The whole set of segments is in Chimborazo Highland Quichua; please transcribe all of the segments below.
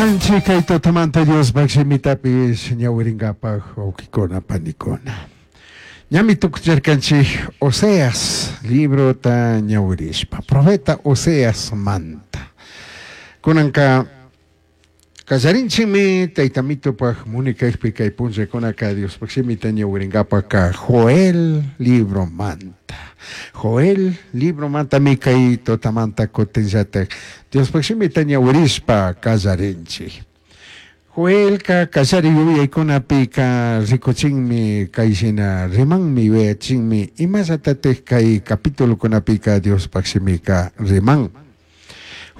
Canchik kay tutamanta Diospaj shimitapish ñawiringapaj wawkikuna panikuna. Ñami tukuchirkanchik Oseas librota ñawirishpa, profeta Oseas manta. Kunanka kallarinchikmi Tayta Mitupaj munikajpi kay punllakunaka Diospaj shimita ñawiringapajka Joel libromanta. Joel libromantami kay tutamanta kutinllatak Diospaj shimita ñawirishpa kallarinchik. Joelca kallari yuyaykunapika rikuchinmi kay shina rimanmi yuyachinmi imallatatik kay capitulokunapika Diospaj shimika riman.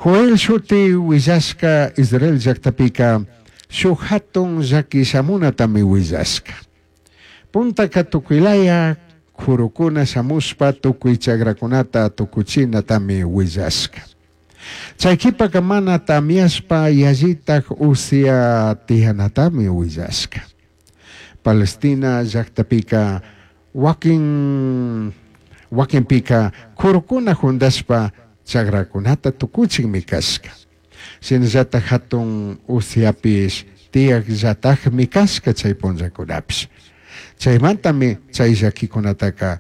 Joel shuti huillashca Israel llactapika shuj jatun llaqui shamunatami huillashca. Puntaka tukuylaya kurukuna shamushpa tukuy chagrakunata tukuchinatami huillashca. Chay qhipaka mana tamyashpa yallitaj usia tiyanatami huillashca. Palestina llactapika wakin wakinpika kurukuna jundashpa chagrakunata tukuchinmi kashka. Shinallataj hatun usiapish tiyakllatajmi kashka chay punllakunapish. Chaymantami chay llakikunataka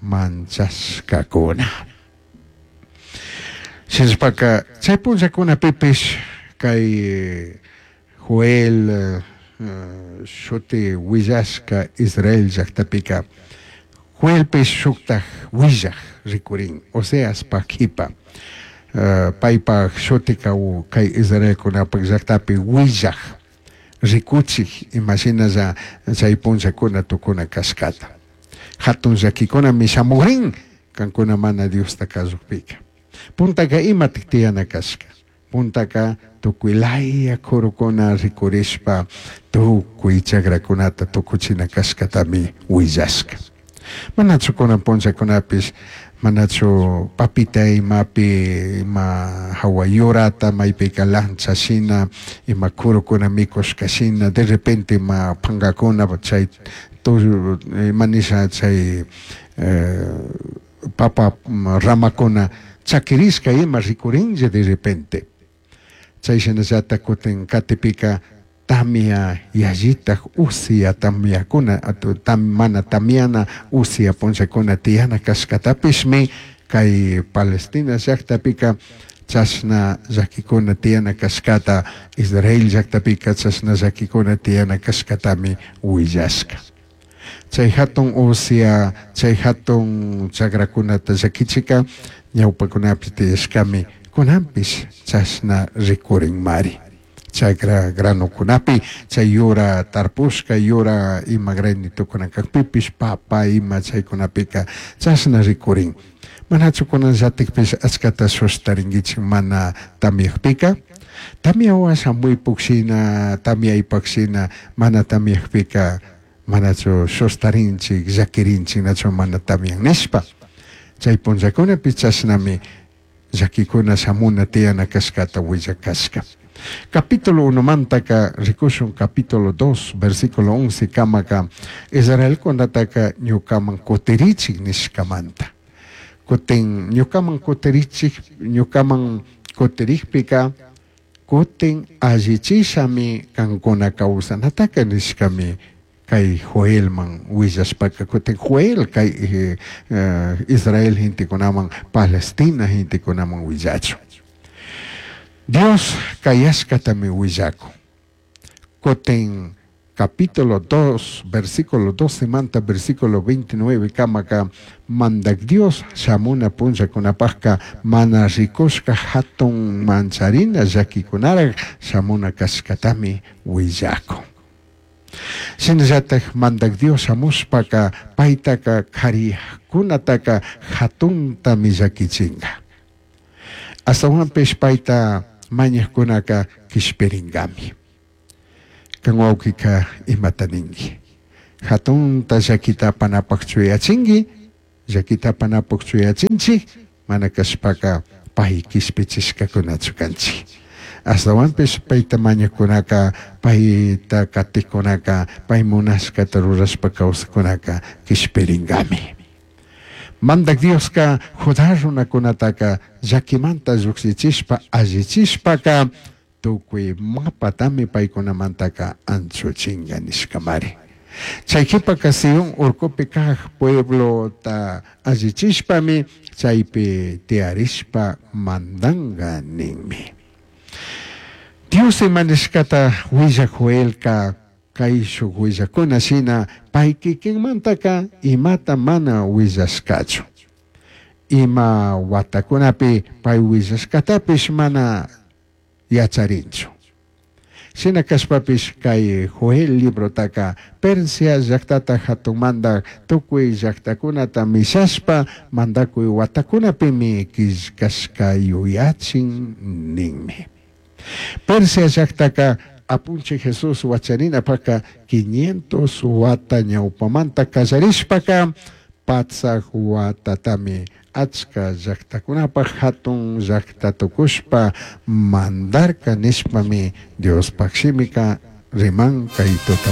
manchashkakuna. Shinashpaka chay punllakunapipish kay Joel shuti willashka Israel llactapika Joelpish shuktaj willaj rikurin Oseaspaj qhipa paypaj shutika kay Israelkunapaj llactapi willaj rikuchij imashinalla chay punllakuna tukuna kashkata. Hatun llakikunami shamugrin kankuna mana Diosta kasukpika. Puntaka imatik tiyana kashka. Puntaka tukuy laya kurukuna rikurishpa tukuy chagrakunata tukuchina kashkatami willashka. Manachu kunan punllakunapish manachu papita imapi ima hawa yurata maypika lancha shina ima kurukuna mikushka shina de repente ima pankakuna chay ima nisha chay papa ramakuna chakirishka ima rikurinlla de repente. Chay shinallata kutin katipika tamia yallitaj usia tamiakuna mana tamiana usia punllakuna tiyana kashkatapishmi kay Palestina llactapika chashna llakikuna tiyana kashkata Israel llactapika chashna llakikuna tiyana kashkatami willashka. Chay hatun usia, chay hatun chagrakunata llakichika ñawpakunapi tiyashkami kunanpish chashna rikurinmari. Chagra granokunapi chay yura tarpushka yura ima granitokuna kakpipish papa ima chaykunapika chashna rikurin. Manachu kunanllatikpish achkata sustarinkichik mana tamyakpika? Tamyawan shamuypuk shina, tamyaypak shina mana tamyakpika manachu sustarinchik, llakirinchik nachu mana tamyan nishpa. Chay punllakunapi chashnami llakikuna shamuna tiyana kashkata willakashka. Capítulo 1 mantaka rikushun capítulo 2 versículo 11 kamaka Israelkunataka ñukaman kutirichik nishkamanta. Kutin ñukaman kutirichik ñukaman kutirikpika kutin allichishami kankuna kawsanataka nishkami kay Joelman willashpaka kutin Joel kay Israel gentekunaman Palestina gentekunaman willachun. Dios kayashkatami willakun. Kutin capítulo 2 versículo 12 manta versículo 29 kamaka mandak Dios shamuna punllakunapajka mana rikushka hatun mancharina llakikunaraj shamuna kashkatami willakun. Shinallataj mandak Dios shamushpaka paytaka kariyajkunataka hatuntami llakichinka. Ashtawanpish payta mañajkunaka kishpiringami. Kan wawkika imata ninki. Hatunta llakita apanapaj chuyachinki, llakita apanapaj chuyachinchik, mana kashpaka pay kishpichishkakunachu kanchik. Ashtawanpish payta mañajkunaka, payta katikkunaka, pay munashkata rurashpa kawsakkunaka kishpirinkami. Mandak Dioska Judá runakunataka llakimanta llukshichishpa allichishpaka Tucui mapatami paicunamantaca anchuchinga nishcamari. Chai jipaca Sion urcupi caj pueblota allichishpami chaipi tiyarishpa mandanga ninmi. Dios ima nishcata huillaj Joelca caishuj huillajcuna shina pai kikinmantaka imata mana huillashcachu. Ima huatacunapi pai huillashcatapish mana yacharinchu. Shina cashpapish cai Joel librotaca Persia llajtata jatun mandaj tucui llajtacunata mishashpa mandacui huatacunapimi quillcashca yuyachin ninmi. Persia llajtaca Apunchij Jesús huacharinapajca 500 huata ñaupamanta callarishpaca patsaj huatatami achca llajtacunapaj jatun llajta tucushpa mandarca nishpami Diospaj shimica riman cai tutamanta.